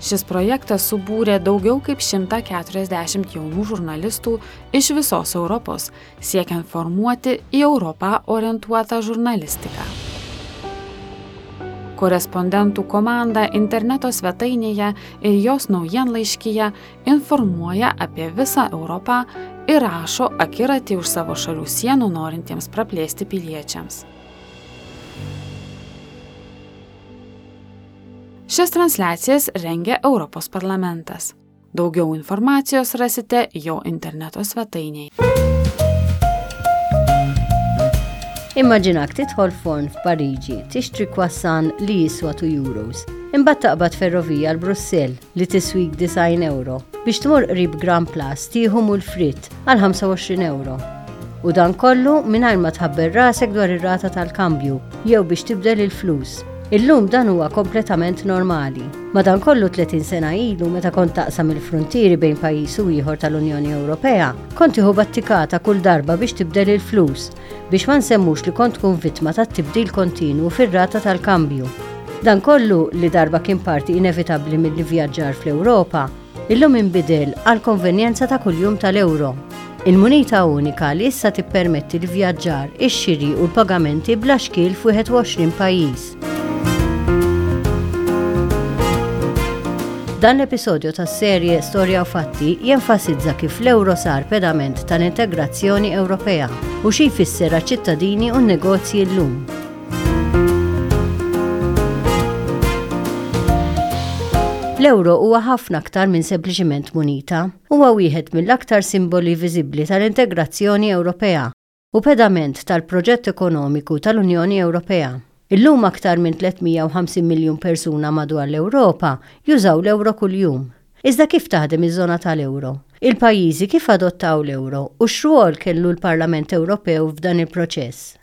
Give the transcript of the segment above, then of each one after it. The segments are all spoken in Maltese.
Šis projektas subūrė daugiau kaip 140 jaunų žurnalistų iš visos Europos, siekiant formuoti į Europą orientuotą žurnalistiką. Korespondentų komanda interneto svetainėje ir jos naujienlaiškyje informuoja apie visą Europą ir rašo akiratį už savo šalių sienų norintiems praplėsti piliečiams. Šias transliacijas rengia Europos parlamentas. Daugiau informacijos rasite jo interneto svetainėje. Immaġinak tidħol forn f'Pariġi tixtri croissant li jiswa 2 euros. Imbagħad taqbad ferrovija għal Brussell li tiswik 90 euro biex tmur qrib Grand Place tieħu mul fritt għal 25 euro. U dan kollu mingħajr ma tħabber rasek dwar ir-rata tal-kambju jew biex tibdel il-flus. Illum dan huwa kompletament normali. Madankollu 30 sena ilu meta kont taqsam il-fruntieri bejn pajjiż u ieħor tal-Unjoni Ewropea, kont tieħu battikata kull darba biex tibdel il-flus, biex ma nsemmux li kont tkun vittma tat-tibdil kontinwu fir-rata tal-kambju. Dan kollu, li darba kien parti inevitabbli mill-ivvjaġġar fl-Ewropa, illum inbidel għall-konvenjenza ta' kuljum tal-euro, il-munita unika li issa tippermetti l-ivvjaġġar, ix-xiri u l-pagamenti bla xkiel f'21 pajjiż. Dan l-episodju tas-serje Storja u Fatti jenfasizza kif l-euro sar pedament tal-integrazzjoni Ewropea u xi jfisser għaċ-ċittadini u n-negozji llum. L-euro huwa ħafna aktar minn sempliċiment munita. Huwa wieħed mill-aktar simboli viżibbli tal-integrazzjoni Ewropea u pedament tal-proġett ekonomiku tal-Unjoni Ewropea. Illum aktar minn 350 miljun persuna madwar l-Ewropa jużaw l-euro kuljum. Iżda kif taħdem iż-żona tal-euro? Il-pajjiżi kif adottaw l-euro u x'rwol kellu l-Parlament Ewropew f'dan il-proċess?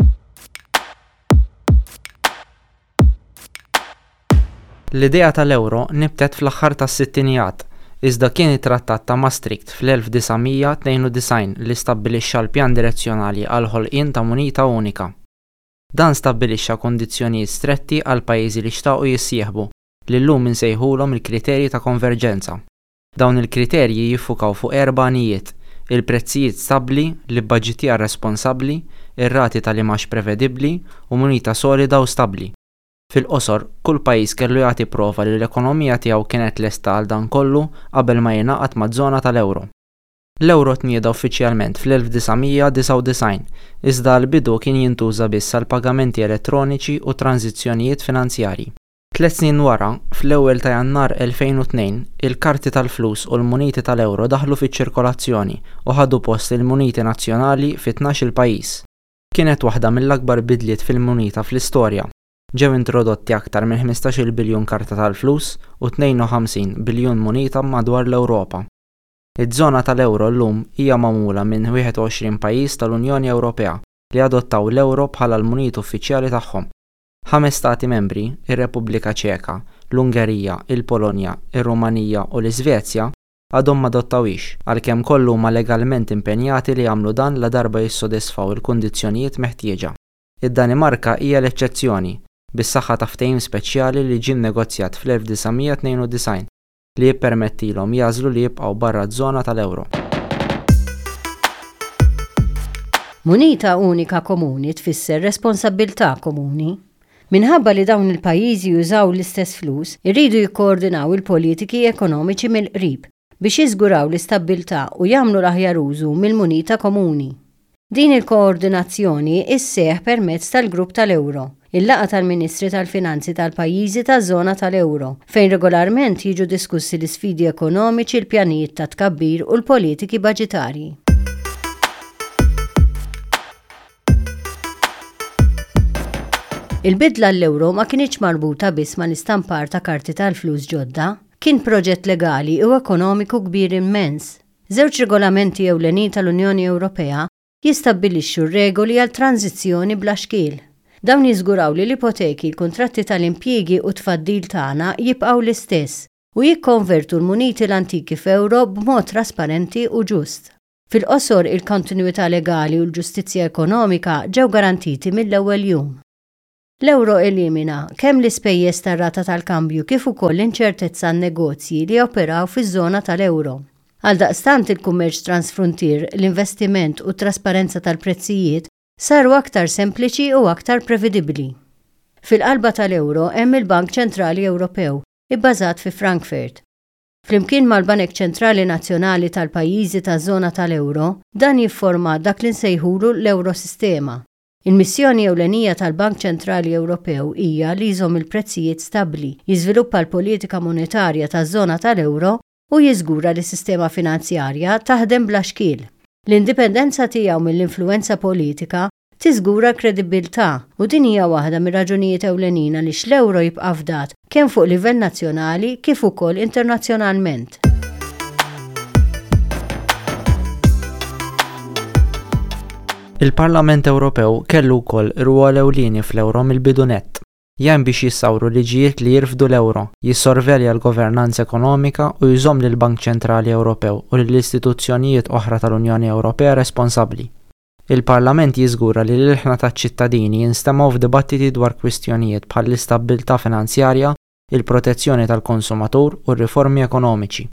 L-idea tal-euro nibtet fl-aħħar tas-sittinijat, iżda kien it-Trattat ta' Maastricht fl-1992 li stabbilixxa l-pjan direzzjonali għall-ħolqien ta' munita unika. Dan stabbilixxa kundizzjonijiet stretti għall-pajjiżi li xtaqu jissieħbu, li llum insejħulhom il-kriterji ta' konverġenza. Dawn il-kriterji jiffukaw fuq erba' għanijiet, il-prezzijiet stabbli, l-ibbaġitjar responsabbli, ir-rati tal-imgħax prevedibbli u munita solida u stabbli. Fil-qosor, kull pajjiż kellu jagħti prova li l-ekonomija tiegħu kienet lesta għal dan kollu qabel ma jingħaqad maż-żona tal-euro. L-euro tnieda uffiċjalment fl-1999, iżda għall-bidu kien jintuża biss għal pagamenti elettroniċi u tranżizzjonijiet finanzjarji. Tliet snin wara, fl-ewwel ta' Jannar 2002, il-karti tal-flus u l-muniti tal-euro daħlu fiċ-ċirkolazzjoni u ħadu post il-muniti nazzjonali fi tnax-il pajjiż. Kienet waħda mill-akbar bidliet fil-munita fl-istorja. Ġew introdotti aktar minn ħmistax-il biljun karta tal-flus u 52 biljun munita madwar l-Ewropa. Iż-żona tal-euro llum hija magħmula minn 21 pajjiż tal-Unjoni Ewropea li adottaw l-euro bħala l-munita uffiċjali tagħhom. Ħames Stati Membri, ir-Repubblika Ċeka, l-Ungerija, il-Polonja, ir-Rumanija u l-Iżvezja, għadhom m'adottawhiex, għalkemm kollha huma legalment impenjati li jagħmlu dan ladarba jissodisfaw il-kundizzjonijiet meħtieġa. Id-Danimarka hija l-eċċezzjoni, bis-saħħa ta' ftehim speċjali li ġie nnegozjat fl-1992 li jippermettilhom jagħżlu li jibqgħu barra ż-żona tal-euro. Munita unika komuni tfisser responsabbiltà komuni. Minħabba li dawn il-pajjiżi jużaw l-istess flus, iridu jikkoordinaw il-politiki ekonomiċi mill-qrib biex jiżguraw l-istabbiltà u jagħmlu l-aħjar użu mill-munita komuni. Din il-koordinazzjoni sseħħ permezz tal-Grupp tal-Euro, il-laqgħa tal-Ministri tal-Finanzi tal-pajjiżi taż-żona tal-euro, fejn regolarment jiġu diskussi l-isfidi ekonomiċi, il-pjanijiet ta' tkabbir u l-politiki baġitarji. Il-bidla għall-euro ma kinitx marbuta biss mal-istampar ta' karti tal-flus ġodda. Kien proġett legali u ekonomiku kbir immens. Żewġ regolamenti ewlenin tal-Unjoni Ewropea jistabbilixxu r-regoli għal tranżizzjoni bla xkiel. Dawn jiżguraw li l-ipoteki, l-kuntratti tal-impjiegi u t-tfaddil tagħna jibqgħu l-istess u jikkonvertu l-muniti l-antiki f'euro b'mod trasparenti u ġust. Fil-qosor, il-kontinwità legali u l-ġustizzja ekonomika ġew garantiti mill-ewwel jum. L-euro elimina kemm l-ispejjeż tar-rata tal-kambju kif ukoll l-inċertezza għan-negozji li joperaw fiż-żona tal-euro. Għaldaqstant il-kummerċ transfruntier, l-investiment u t-trasparenza tal-prezzijiet saru aktar sempliċi u aktar previdibbli. Fil-qalba tal-euro hemm il-Bank Ċentrali Ewropew, ibbażat fi Frankfurt. Flimkien mal-banek ċentrali nazzjonali tal-pajjiżi taż-żona tal-euro, dan jifforma dak li nsejħulu l-Eurosistema. Il-missjoni ewlenija tal-Bank Ċentrali Ewropew hija li jżomm il-prezzijiet stabbli, jiżviluppa l-politika monetarja taż-żona tal-euro u jiżgura li s-sistema finanzjarja taħdem bla xkiel. L-indipendenza tiegħu mill-influwenza politika tiżgura l-kredibbiltà u din hija waħda mir-raġunijiet ewlenin għaliex l-euro jibqa' fdat kemm fuq livell nazzjonali kif ukoll internazzjonalment. Il-Parlament Ewropew kellu wkoll rwol ewlieni fl-euro mill-bidu nett. Jgħin biex jissawru liġijiet li jirfdu l-euro, jissorvelja l-governanza ekonomika u jżomm lill-Bank Ċentrali Ewropew u lil istituzzjonijiet oħra tal-Unjoni Ewropea responsabbli. Il-Parlament jiżgura li l-ilħna taċ-ċittadini jinstemgħu f'dibattiti dwar kwistjonijiet bħall-istabbiltà finanzjarja, il-protezzjoni tal-konsumatur u r-riformi ekonomiċi.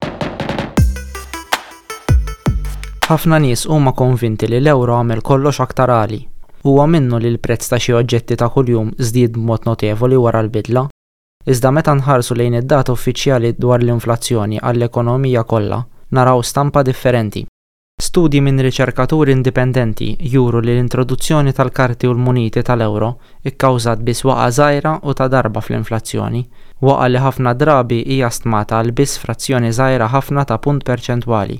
Ħafna nies huma konvinti li l-euro għamel kollox aktar għali. Huwa minnu li l-prezz ta' xi oġġetti ta' kuljum żdied b'mod notevoli wara l-bidla. Iżda meta nħarsu lejn id-data uffiċjali dwar l-inflazzjoni għall-ekonomija kollha, naraw stampa differenti. Studji minn riċerkaturi indipendenti juru li l-introduzzjoni tal-karti u l-muniti tal-euro kkawżat biss waqgħa żgħira u ta' darba fl-inflazzjoni, waqgħa li ħafna drabi hija stmata għal biss frazzjoni żgħira ħafna ta' punt perċentwali.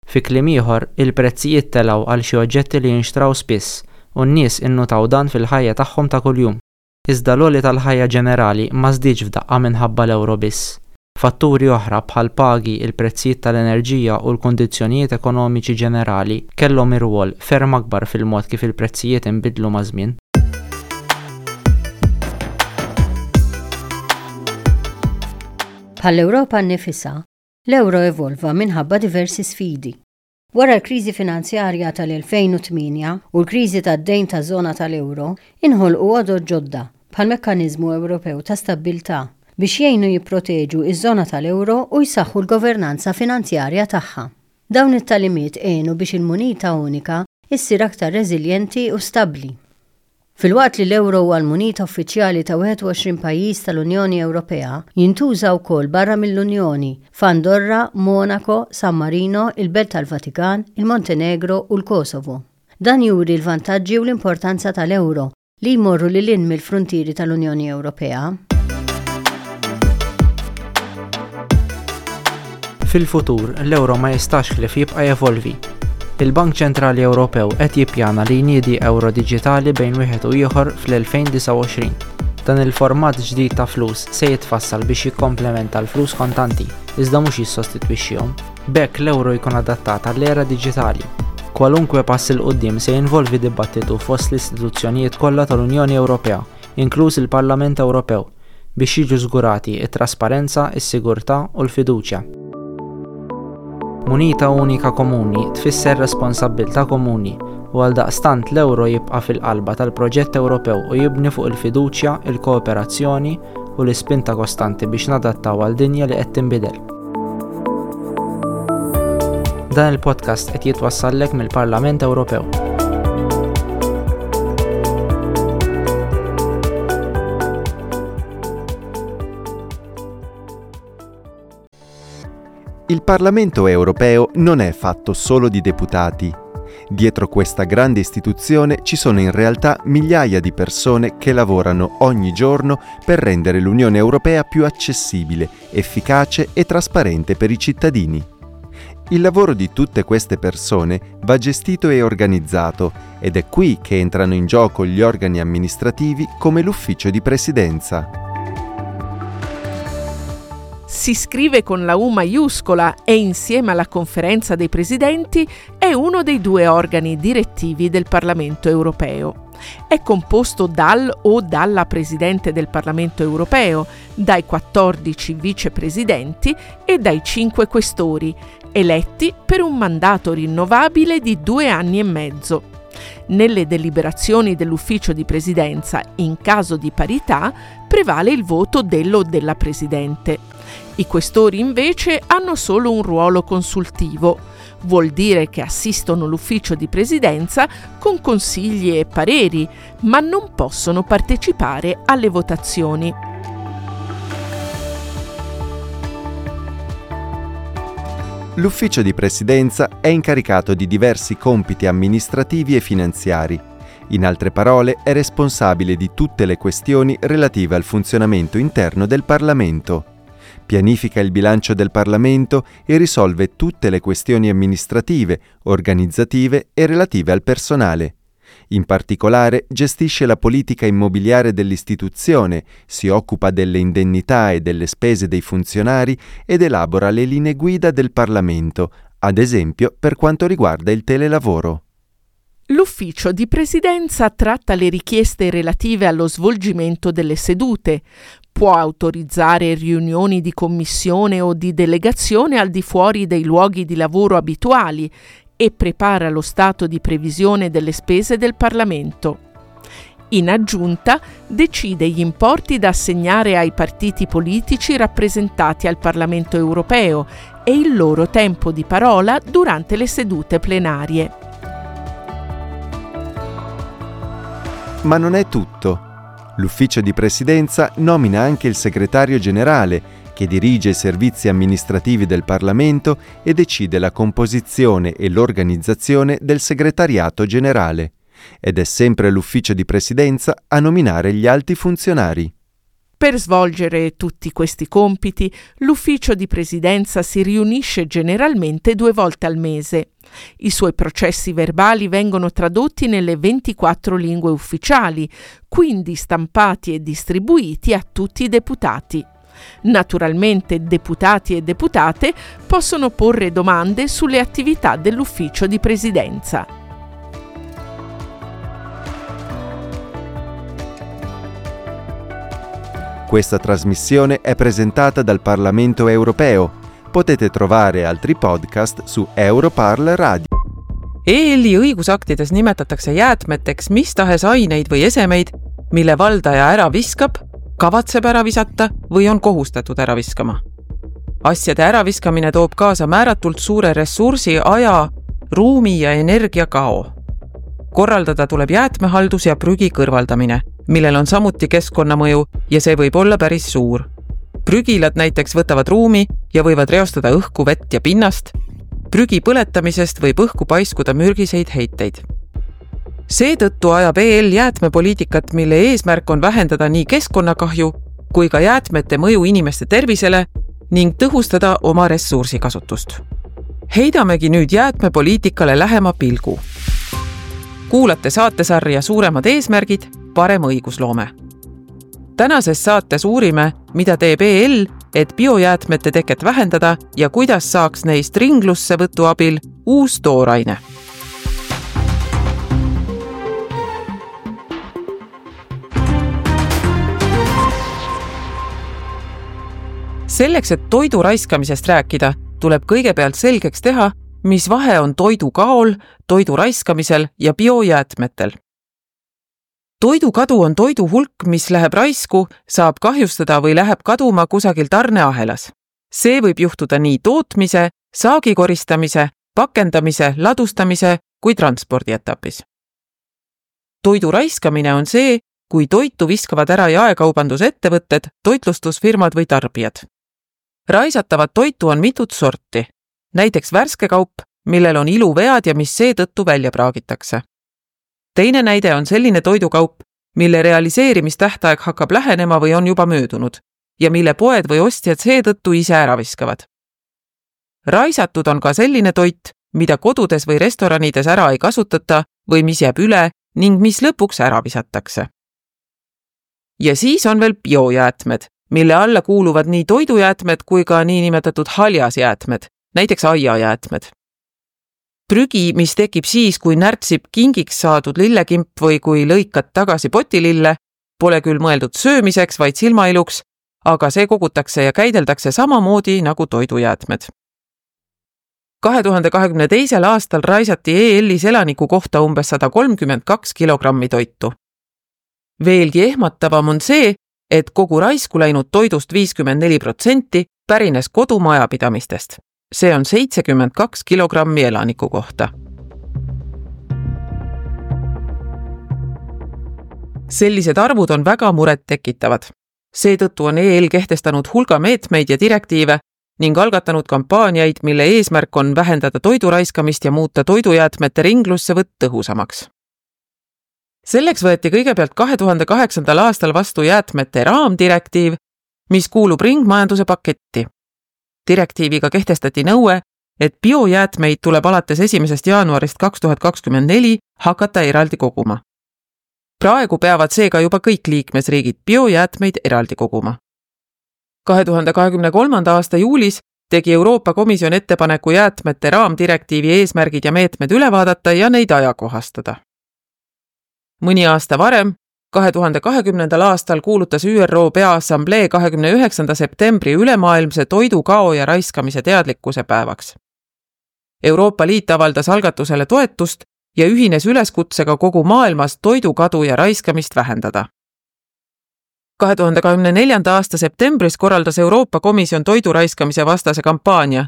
Fi kliem ieħor, il-prezzijiet telgħu għal xi oġġetti li jinxtraw spiss u n-nies innutaw dan fil-ħajja tagħhom ta' kuljum. Iżda l-għoli tal-ħajja ġenerali ma żdiedx f'daqqa minħabba l-ewro biss. Fatturi oħra bħall-pagi, il-prezzijiet tal-enerġija u l-kundizzjonijiet ekonomiċi ġenerali kellhom irwol ferm akbar fil-mod kif il-prezzijiet inbidlu maż-żmien. Bħall-Ewropa nnifisha, l-ewro evolva minħabba diversi sfidi. Wara l-kriżi finanzjarja tal-2008 u l-kriżi tad-dejn taż-żona tal-euro, inħolqu għodod ġodda, bħall-Mekkaniżmu Ewropew ta' Stabbiltà, biex jgħinu jipproteġu ż-żona tal-euro u jsaħħu l-governanza finanzjarja tagħha. Dawn it-tagħlimiet għenu biex il-munita unika ssir aktar reżiljenti u stabbli. Filwaqt li l-euro huwa l-munita uffiċjali ta' 21 pajjiż tal-Unjoni Ewropea, jintuża wkoll barra mill-Unjoni, f'Andorra, Monako, San Marino, il-Belt tal-Vatikan, il-Montenegro u l-Kosovo. Dan juri l-vantaġġi u l-importanza tal-euro, li jmorru lil hinn mill-fruntieri tal-Unjoni Ewropea. Fil-futur, l-euro ma jistax ħlief jibqa' jevolvi. Il-Bank Ċentrali Ewropew qed jippjana li jniedi euro diġitali bejn wieħed u ieħor fl-2029. Dan il-format ġdid ta' flus se jitfassal biex jikkomplementa l-flus kontanti, iżda mhux jissostitwixxihom. B'hekk l-euro jkun adattat għall-era diġitali. Kwalunkwe pass 'il quddiem se jinvolvi dibattitu fost l-istituzzjonijiet kollha tal-Unjoni Ewropea, inkluż il-Parlament Ewropew, biex jiġu żgurati t-trasparenza, is-sigurtà u l-fiduċja. Munita unika komuni tfisser responsabbiltà komuni u għaldaqstant l-euro jibqa' fil-qalba tal-proġett Ewropew u jibni fuq il-fiduċja, il-kooperazzjoni u l-ispinta kostanti biex nadattaw għal dinja li qed tinbidel. Dan il-podcast qed jitwassallek mill-Parlament Ewropew. Il Parlamento europeo non è fatto solo di deputati. Dietro questa grande istituzione ci sono in realtà migliaia di persone che lavorano ogni giorno per rendere l'Unione Europea più accessibile, efficace e trasparente per i cittadini. Il lavoro di tutte queste persone va gestito e organizzato ed è qui che entrano in gioco gli organi amministrativi come l'ufficio di presidenza. Si scrive con la U maiuscola e insieme alla conferenza dei presidenti è uno dei due organi direttivi del Parlamento europeo. È composto dal o dalla Presidente del Parlamento europeo, dai 14 vicepresidenti e dai 5 questori, eletti per un mandato rinnovabile di due anni e mezzo. Nelle deliberazioni dell'ufficio di presidenza, in caso di parità, prevale il voto dello o della presidente. I questori invece hanno solo un ruolo consultivo. Vuol dire che assistono l'ufficio di presidenza con consigli e pareri, ma non possono partecipare alle votazioni. L'ufficio di presidenza è incaricato di diversi compiti amministrativi e finanziari. In altre parole, è responsabile di tutte le questioni relative al funzionamento interno del Parlamento. Pianifica il bilancio del Parlamento e risolve tutte le questioni amministrative, organizzative e relative al personale. In particolare gestisce la politica immobiliare dell'istituzione, si occupa delle indennità e delle spese dei funzionari ed elabora le linee guida del Parlamento, ad esempio per quanto riguarda il telelavoro. L'ufficio di presidenza tratta le richieste relative allo svolgimento delle sedute, può autorizzare riunioni di commissione o di delegazione al di fuori dei luoghi di lavoro abituali e prepara lo stato di previsione delle spese del Parlamento. In aggiunta, decide gli importi da assegnare ai partiti politici rappresentati al Parlamento europeo e il loro tempo di parola durante le sedute plenarie. Ma non è tutto. L'ufficio di presidenza nomina anche il segretario generale, che dirige i servizi amministrativi del Parlamento e decide la composizione e l'organizzazione del segretariato generale. Ed è sempre l'ufficio di presidenza a nominare gli alti funzionari. Per svolgere tutti questi compiti, l'ufficio di presidenza si riunisce generalmente 2 volte al mese. I suoi processi verbali vengono tradotti nelle 24 lingue ufficiali, quindi stampati e distribuiti a tutti i deputati. Naturalmente deputati e deputate possono porre domande sulle attività dell'ufficio di presidenza. Questa trasmissione è presentata dal Parlamento europeo. Potete trovare altri podcast su Europarl Radio. EL-i õigusaktides nimetatakse jäätmeteks mis tahes aineid või esemeid, mille valdaja ära viskab, kavatseb ära visata või on kohustatud ära viskama. Asjade äraviskamine toob kaasa määratult suure ressursi, aja, ruumi ja energia kao. Korraldada tuleb jäätmehaldus ja prügi kõrvaldamine, millel on samuti keskkonnamõju ja see võib olla päris suur. Prügilad näiteks võtavad ruumi ja võivad reostada õhku, vett ja pinnast. Prügi põletamisest võib õhku paiskuda mürgiseid heiteid. Seetõttu ajab EL jäätmepoliitikat, mille eesmärk on vähendada nii keskkonnakahju kui ka jäätmete mõju inimeste tervisele ning tõhustada oma ressursikasutust. Heidamegi nüüd jäätmepoliitikale lähema pilgu. Kuulate saatesarja Suuremad eesmärgid, parem õigusloome. Tänases saates uurime, mida teeb EL, et biojäätmete teket vähendada ja kuidas saaks neist ringlussevõtu abil uus tooraine. Selleks, et toidu raiskamisest rääkida, tuleb kõigepealt selgeks teha, mis vahe on toidukaol, toidu raiskamisel ja biojäätmetel. Toidukadu on toidu hulk, mis läheb raisku, saab kahjustada või läheb kaduma kusagil tarneahelas. See võib juhtuda nii tootmise, saagi koristamise, pakendamise, ladustamise kui transpordietapis. Toidu raiskamine on see, kui toitu viskavad ära jaekaubandusettevõtted, toitlustusfirmad või tarbijad. Raisatavat toitu on mitut sorti, näiteks värske kaup, millel on iluvead ja mis seetõttu välja praagitakse. Teine näide on selline toidukaup, mille realiseerimistähtaeg hakkab lähenema või on juba möödunud ja mille poed või ostjad seetõttu ise ära viskavad. Raisatud on ka selline toit, mida kodudes või restoranides ära ei kasutata või mis jääb üle ning mis lõpuks ära visatakse. Ja siis on veel biojäätmed, mille alla kuuluvad nii toidujäätmed kui ka niinimetatud haljasjäätmed, näiteks aiajäätmed. Prügi, mis tekib siis, kui närtsib kingiks saadud lillekimp või kui lõikad tagasi potilille, pole küll mõeldud söömiseks, vaid silmailuks, aga see kogutakse ja käideldakse samamoodi nagu toidujäätmed. 2022. aastal raisati EL-is elaniku kohta umbes 132 kilogrammi toitu. Veelgi ehmatavam on see, et kogu raisku läinud toidust 54% pärines kodumajapidamistest. See on 72 kilogrammi elaniku kohta. Sellised arvud on väga murettekitavad. Seetõttu on EL kehtestanud hulga meetmeid ja direktiive ning algatanud kampaaniaid, mille eesmärk on vähendada toidu raiskamist ja muuta toidujäätmete ringlussevõtt tõhusamaks. Selleks võeti kõigepealt 2008. aastal vastu jäätmete raamdirektiiv, mis kuulub ringmajanduse paketti. Direktiiviga kehtestati nõue, et biojäätmeid tuleb alates 1. jaanuarist 2024 hakata eraldi koguma. Praegu peavad seega juba kõik liikmesriigid biojäätmeid eraldi koguma. 2023. aasta juulis tegi Euroopa Komisjon ettepaneku jäätmete raamdirektiivi eesmärgid ja meetmed üle vaadata ja neid ajakohastada. Mõni aasta varem, 2020. aastal kuulutas ÜRO Peaassamblee 29. septembri ülemaailmse toidukao ja raiskamise teadlikkuse päevaks. Euroopa Liit avaldas algatusele toetust ja ühines üleskutsega kogu maailmas toidukadu ja raiskamist vähendada. 2024. aasta septembris korraldas Euroopa Komisjon toidu raiskamise vastase kampaania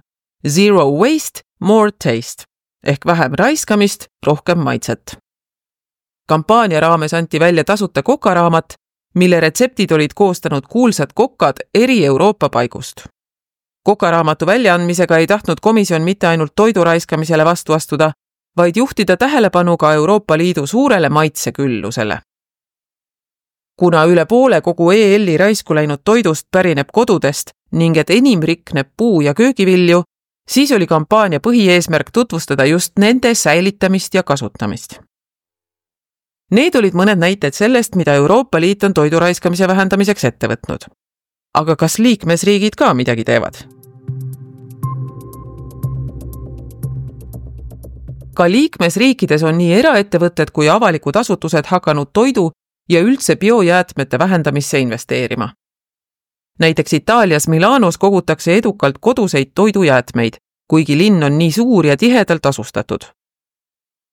Zero Waste, More Taste ehk vähem raiskamist, rohkem maitset. Kampaania raames anti välja tasuta kokaraamat, mille retseptid olid koostanud kuulsad kokad eri Euroopa paigust. Kokaraamatu väljaandmisega ei tahtnud komisjon mitte ainult toidu raiskamisele vastu astuda, vaid juhtida tähelepanu ka Euroopa Liidu suurele maitseküllusele. Kuna üle poole kogu EL-i raisku läinud toidust pärineb kodudest ning et enim rikneb puu- ja köögivilju, siis oli kampaania põhieesmärk tutvustada just nende säilitamist ja kasutamist. Need olid mõned näited sellest, mida Euroopa Liit on toidu raiskamise vähendamiseks ette võtnud. Aga kas liikmesriigid ka midagi teevad? Ka liikmesriikides on nii eraettevõtted kui avalikud asutused hakanud toidu ja üldse biojäätmete vähendamisse investeerima. Näiteks Itaalias Milanos kogutakse edukalt koduseid toidujäätmeid, kuigi linn on nii suur ja tihedalt asustatud.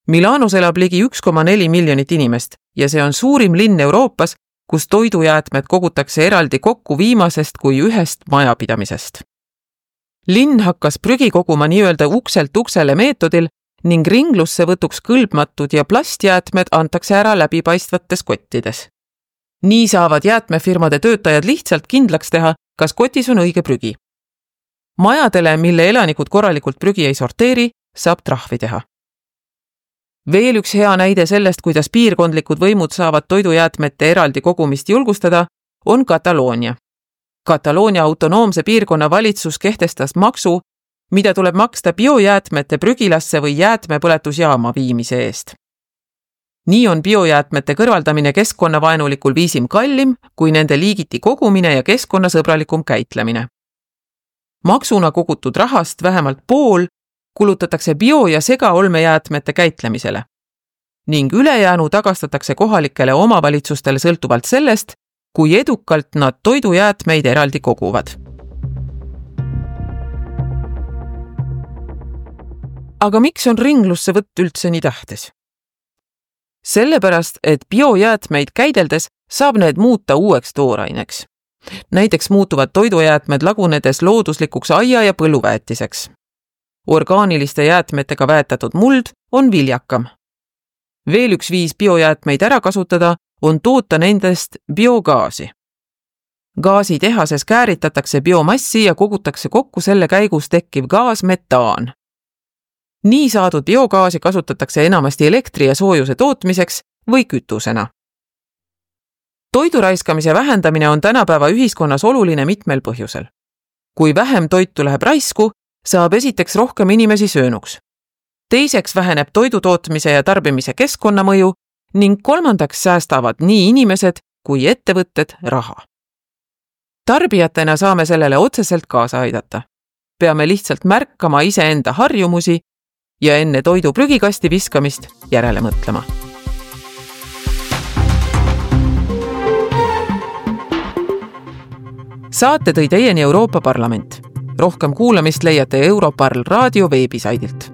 Milanos elab ligi 1,4 miljonit inimest ja see on suurim linn Euroopas, kus toidujäätmed kogutakse eraldi kokku viimasest kui ühest majapidamisest. Linn hakkas prügi koguma nii-öelda ukselt uksele meetodil ning ringlussevõtuks kõlbmatud ja plastjäätmed antakse ära läbipaistvates kottides. Nii saavad jäätmefirmade töötajad lihtsalt kindlaks teha, kas kotis on õige prügi. Majadele, mille elanikud korralikult prügi ei sorteeri, saab trahvi teha. Veel üks hea näide sellest, kuidas piirkondlikud võimud saavad toidujäätmete eraldi kogumist julgustada, on Kataloonia. Kataloonia autonoomse piirkonna valitsus kehtestas maksu, mida tuleb maksta biojäätmete prügilasse või jäätmepõletusjaama viimise eest. Nii on biojäätmete kõrvaldamine keskkonnavaenulikul viisil kallim kui nende liigiti kogumine ja keskkonnasõbralikum käitlemine. Maksuna kogutud rahast vähemalt pool kulutatakse bio- ja segaolmejäätmete käitlemisele ning ülejäänu tagastatakse kohalikele omavalitsustele sõltuvalt sellest, kui edukalt nad toidujäätmeid eraldi koguvad. Aga miks on ringlussevõtt üldse nii tähtis? Sellepärast, et biojäätmeid käideldes saab need muuta uueks tooraineks. Näiteks muutuvad toidujäätmed lagunedes looduslikuks aia- ja põlluväetiseks. Orgaaniliste jäätmetega väetatud muld on viljakam. Veel üks viis biojäätmeid ära kasutada on toota nendest biogaasi. Gaasitehases kääritatakse biomassi ja kogutakse kokku selle käigus tekkiv gaas metaan. Nii saadud biogaasi kasutatakse enamasti elektri ja soojuse tootmiseks või kütusena. Toidu raiskamise vähendamine on tänapäeva ühiskonnas oluline mitmel põhjusel. Kui vähem toitu läheb raisku, saab esiteks rohkem inimesi söönuks. Teiseks väheneb toidu tootmise ja tarbimise keskkonnamõju ning kolmandaks säästavad nii inimesed kui ettevõtted raha. Tarbijatena saame sellele otseselt kaasa aidata. Peame lihtsalt märkama iseenda harjumusi ja enne toidu prügikasti viskamist järele mõtlema. Saate tõi teieni Euroopa Parlament. Rohkem kuulamist leiate Europarl raadio veebisaidilt.